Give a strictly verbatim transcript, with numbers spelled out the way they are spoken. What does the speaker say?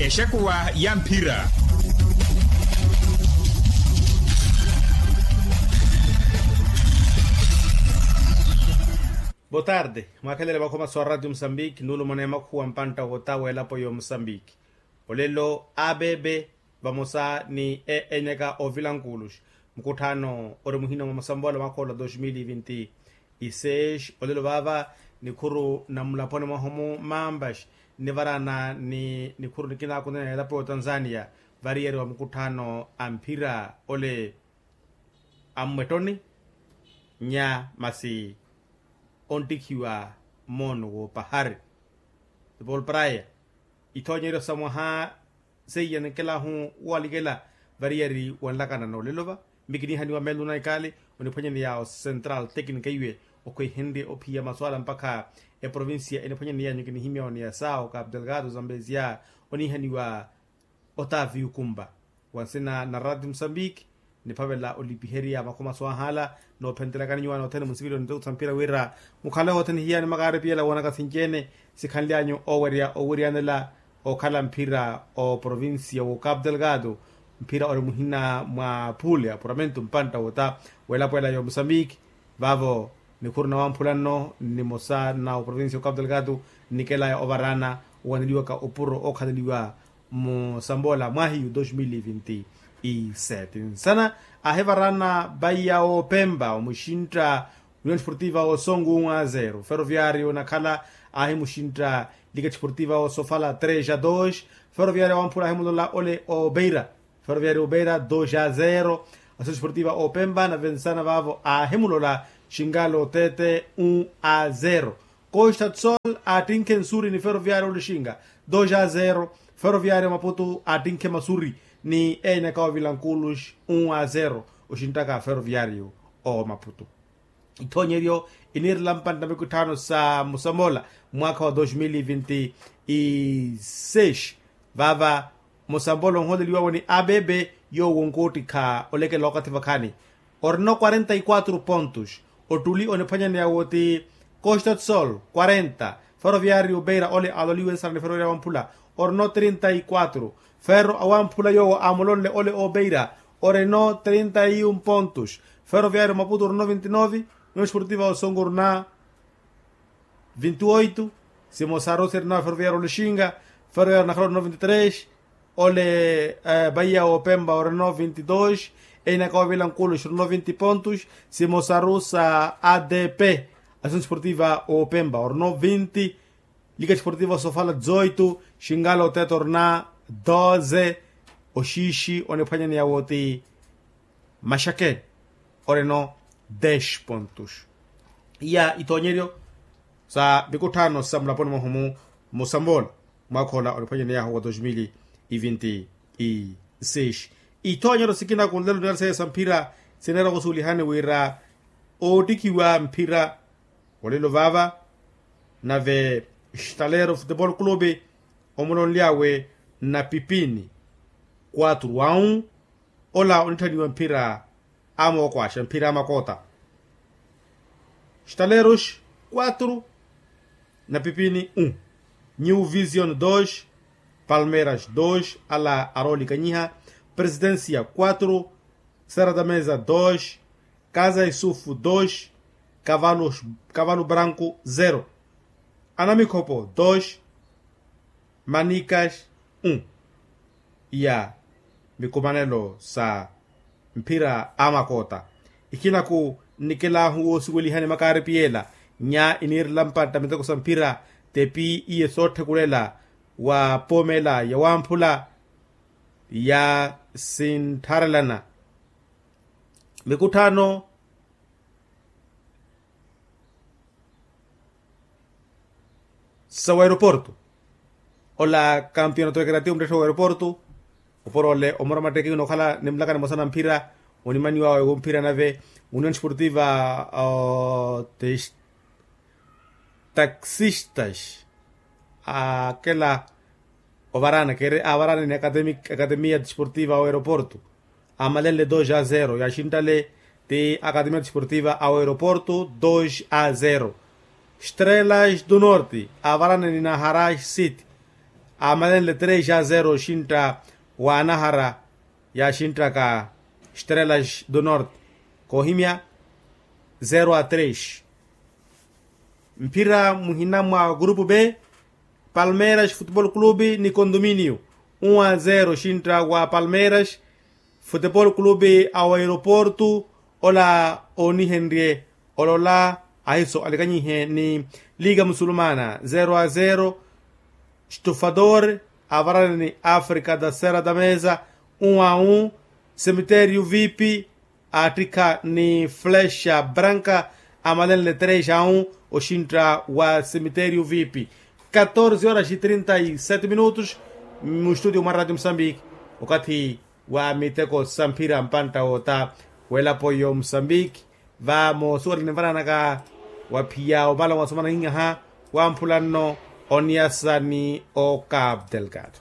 Exekuwa ya mphira. Botarde, mwakhelele makhomaso a ratio musambiki nuulumana emakhuwa mpantta wota w'elapo y'omusambiki. Olelo abeebe vamosa ni eenyaka ovilankuuluxa mukutthaano ori muhina mwa masamboola mwakha ola dos mil vinti. Iseis olelo vaava nikhuru na mulaponi mwahu-mu mampaxi nivaraana ni nikhuru nikinaakunana elapo y'otanzania variyari wa mukutthaano a mphira ole a mmwettoni nya masi onttikhiwa moono w'opahari. Tupol praya ithoonyeryo sa mwaha seiya ninkelahu walikela variyari wanlakana n'olelo va. Mmi kiniihaniwa meeluna ikaali oniphwanyaneya o central tecnica iwe okhwehenrye ophiya maswala mpakha eprovincia eniphwanyaneyanyu kinihimya oneya sa o capu delgado zambezia oniihaniwa otavi ukumba. Wa nsina na ratio musambiki niphavela olipiherya makhomaso ahala noophentelakani nyuwaana othene munsivili onitokutha mpira wira mukhale othene hiyani makaari piyela woonaka sinci-ene sikhanlyanyu owerya owiryanela okhala mphira o provincia wo capu delgado. Mphira ori muhina mwa pule apuramento mpantta wota w'elapo ela y'omusambiki. Vaavo nikhuru nawamphula nno nimosa na oprovincia o capu delgado nnikelaya ovarana owaneliwaka opuro ookhaleliwa musamboola mwahiyu dos mil vinti sete nsana aahivaraana vaiya opempa omuxintta union sportiva osongo un a zero ferroviario nakhala aahimuxintta lika sportiva osofala tres a dos. Ferroviario wamphula aahimulola ole obeira ferroviario obeira dos a zero. Asosi sportiva opempa nave nsana vaavo aahimulola xingalo tete un a zero. Costa tsol aattinkhe nsuri ni ferroviario olixinga dos a zero. Ferroviario maputu aattinkhe masuri ni eenyaka ovilankuulux un a zero oxinttaka ferroviario o maputu. Ithoonyeryo iniirela mpantta mikutthano sa musamoola mwaakha wa dos mil vinti seis. Vaava musamoola onholeliwawe ni abeebe yoowo onkoottikha olekela okathi vakhaani orino quarenta y quatro pontos. Ottuli oniphwanyaneya wo ti costa tsol quarenta. Ferroviario beira ole aloliwe nsana ni ferroviario wamphula orino trinta y quatro. Ferro awamphula yoowo amulonle ole obeira orino trinta y un pontos. Ferroviario maputo orino vinti nove. Union sportiva osongo orina vinti oito. Simosaru sirina ferroviario olixinga. Ferroviario nakhala orino vinti tres. Ole baia opempa orino vinti dos. Einaka ovila nkulu xirino vinti pontos. Simosaru sa adp. Asunsi sportiva opempa orino vinti. Lika esportiva sofala dezoito xingala otete orina doze. Oxiixi oniphwanyaneya woti maxake orino dex pontos. Iya ithoonyeryo sa mikutthano sa mulaponi mwahu-mu musamboola mwaakha ola oniphwanyaneyahu wa dos mil e vinti e seis. Ithoonyeryo sikina kunlelo niyari seiya sa mphira sineera osuulihani wira oottikhiwa mphira olelo vaava. Nave xtalero futebol clube omulonly'awe na pipini quatro a un. Ola onitthaniwa mphira amookwaxa mphira amakota. Xtaleros quatro na pipini un. New vision dos. Palmeiras dos ala aroolikanyiha. Presidencia quatro. Sera da mesa dos. Kaza isufu dos. Kavalu branku zero. Anamikhopo dos. Manikas un. Iya mikumanelo sa mphira a makota. Ikinaku nnikilaahu woosiwelihani makaaripi yeela nya iniirela mpatta miteko sa mphira. Tepi iye sootthakulela wa poomela ya wamphula ya sinttharelana mikutthano sa waeroporto. Ola kampiyonato ekeratiyo muttetthe wa waeroporto. Oporoole omora mattekiwina okhala nimulakani mosana mphira onimaniwawe womphira nave union sportiva. Taxistas akela ovarana keri avarana ni akademia desportiva wa aeroporto. Amalenle dos a zero yaxinttale ti akademia desportiva a aeroporto dos a zero. Estrelas do norte avarana ni naharas city. amalenle tres a zero oxintta wa anahara yaaxinttaka estrelas do norte koohimya zero a tres. Mphira muhina mwa grupu b, palmeiras futebol clube ni condominio, um a zero oxintta wa palmeiras futebol clube ao aeroporto ola oonihenrye olola ahiso alikanyihe ni liga musulumana zero a zero. Stufador avarani ni africa da sera da mesa um a um. Cemitério vip attikha ni flecha branca amalenle tres a um oxintta wa cemitério vip. Catorze horas e trinta e sete minutos. Mu studio mwa radio moçambique okathi wa miteko sa mphira mpantta woota welapo yo moçambique. Va moosuwela ninvaranaka wa phiya omala wa somana ahinyaha wa mphulanno oniyasa ni o cabo delgado.